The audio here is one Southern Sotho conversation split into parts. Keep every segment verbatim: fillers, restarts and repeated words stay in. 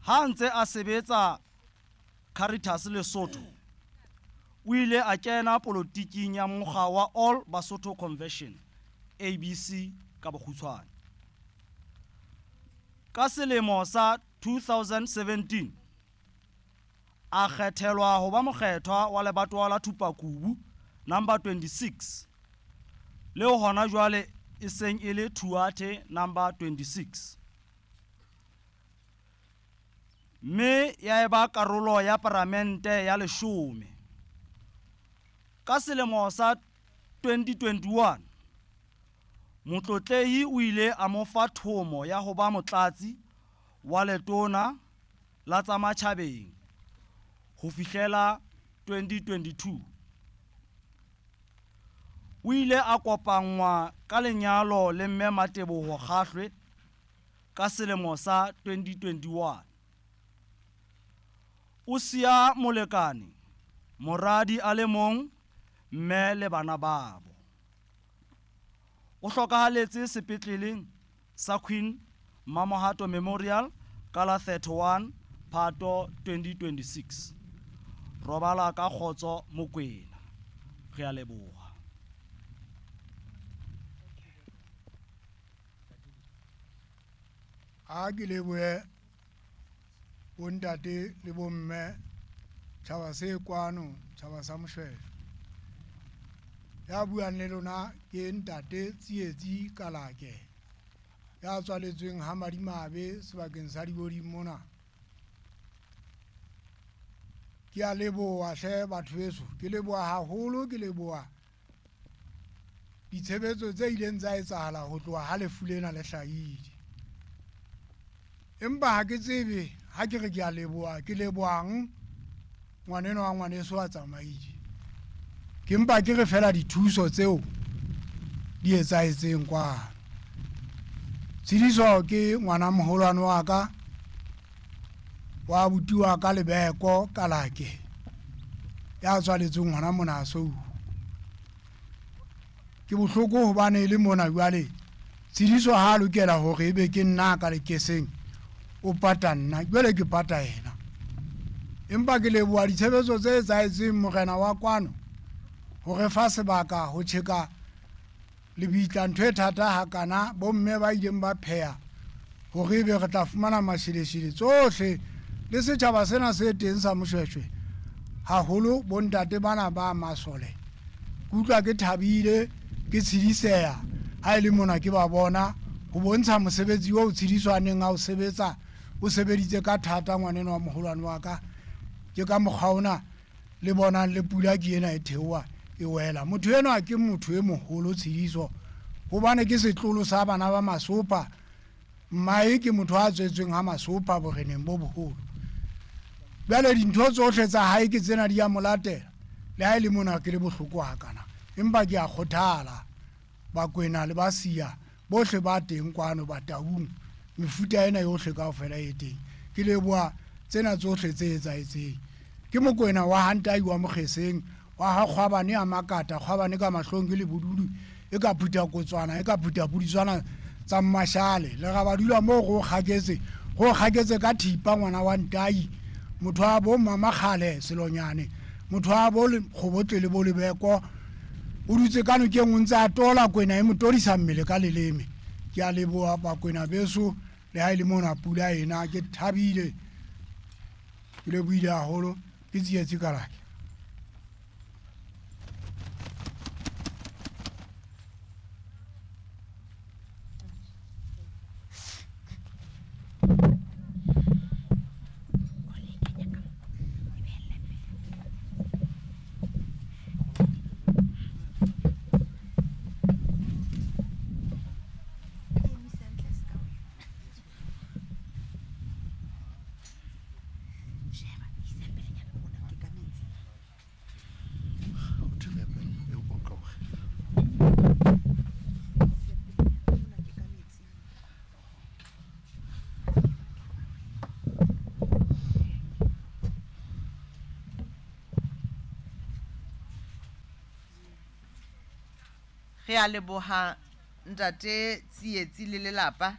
Ha ntse a sebetsa Caritas Lesotho, o ile a kena polotiking ya mokga wa All Basotho Convention, A B C ka bokgutshwane. Ka selemo sa two thousand seventeen, a kgethelwa ho ba mokgethwa wa lebatowa la Thupakubu number twenty-six, leo hona jwale e seng e le Thuathe number twenty-six. Mme ya eba karolo ya palamente ya leshome. Ka selemo sa twenty twenty-one, Motlotlehi o ile a mo fa thomo ya ho ba motlatsi wa letona la tsa matjhabeng ho fihlela twenty twenty-two. O ile a kopanngwa ka lenyalo le Mme Mateboho Kgahlwe ka selemo sa twenty twenty-one. O siya molekane, moradi a le mong, mme le bana babo. O hlokahaletse sepetleleng sa Queen Mamohato Memorial ka la thirty-one Phato twenty twenty-six. Robala ka kgotso Mokwena. Re a leboha. A ke lebohe bontate le bomme, tjhaba se kwano, tjhaba sa Moshweshwe. Ya buang le lona ke ntate Tsietsi Kalake, ya tswaletsweng ha Madimabe sebakeng sa Diboding mona. Ke a leboha hle batho beso, ke leboha haholo, ke leboha ditshebetso tse ileng tsa etsahala ho tloha ha lefu lena le hlahile. Empa ha ke tsebe ha ke re ke a leboha, ke lebohang ngwaneno wa ngwaneso a tsamaile. Ke mpa ke re fela dithuso tseo di etsahetseng kwano. Tshidiso ke ngwana moholwane wa ka, wa abuti wa ka Lebeko Kalake, ya tswaletsweng hona mona Sou. Ke bohloko hobane e le mona jwale Tshidiso ha a lokela hore ebe ke nna ka lekeseng, o pata nna, jwale ke pata yena. Empa ke leboha ditshebetso tse etsahetseng morena wa kwano ho re fa sebaka ho tjheka lebitla, ntho e thata hakana, bomme ba ileng ba pheha hore ebe re tla fumana masheleshele tsohle le setjhaba sena se teng sa Moshweshwe, haholo bontate bana ba masole. Ke utlwa ke thabile, ke tshediseha ha e le mona ke ba bona ho bontsha mosebetsi oo Tshidiso a neng a o sebetsa, o sebeditse ka thata ngwaneno wa moholwane wa ka. Ke ka mokgwa ona le bonang le pula ke ena e theoha e wela. Motho enwa ke motho e moholo Tshidiso, hobane ke setlolo sa bana ba Masopa. Mmae ke motho a tswetsweng ha Masopa boreneng bo boholo. Jwale dintho tsohle tsa hae ke tsena di a mo latela, le ha e le mona ke le bohloko hakana, empa ke a kgothala. Bakwena le Basia bohle ba teng kwano Bataung, mefuta ena yohle kaofela e teng. Ke leboha tsena tsohle tse etsahetseng. Ke Mokwena wa Hantai wa Mokgeseng, wa ha Kgwabane a Makata, Kgwabane ka mahlong ke lebodudu, e ka phutha kotswana, e ka phutha puditswana tsa Mmashale. Le ra ba dula moo go kgaketse, go kgaketse ka thipa ngwana wa Ntai, motho wa bo Mmamakgale Selonyane, motho wa bo Kgobotle le bo Lebeko. O dutse ka nokeng o ntse a tola kwena e mo todisa mmele ka leleme. Ke a leboha bakwena beso, le ha e le mona pula ena, ke thabile, ke lebohile haholo. Ke Tsietsi Kalake. Re a leboha ntate Tsietsi le lelapa.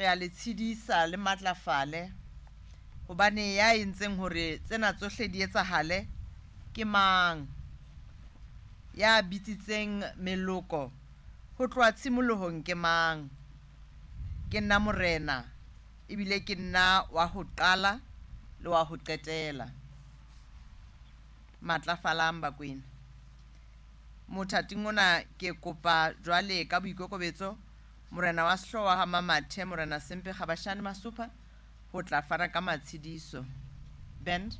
Re a le tshedisa le matlafale, hobane ya entseng hore tsena tsohle di etsahale ke mang? Ya bitsitseng meloko ho tloha tshimolohong ke mang? Ke nna Morena, ebile ke nna wa ho qala le wa ho qetela. Matlafalang Bakwena. Mothating ona ke kopa jwale ka boikokobetso Morena wa Sehlooho wa ha Mamathe, Morena Sempe Kgabashane Masopha, ho tla fana ka matshediso. Band.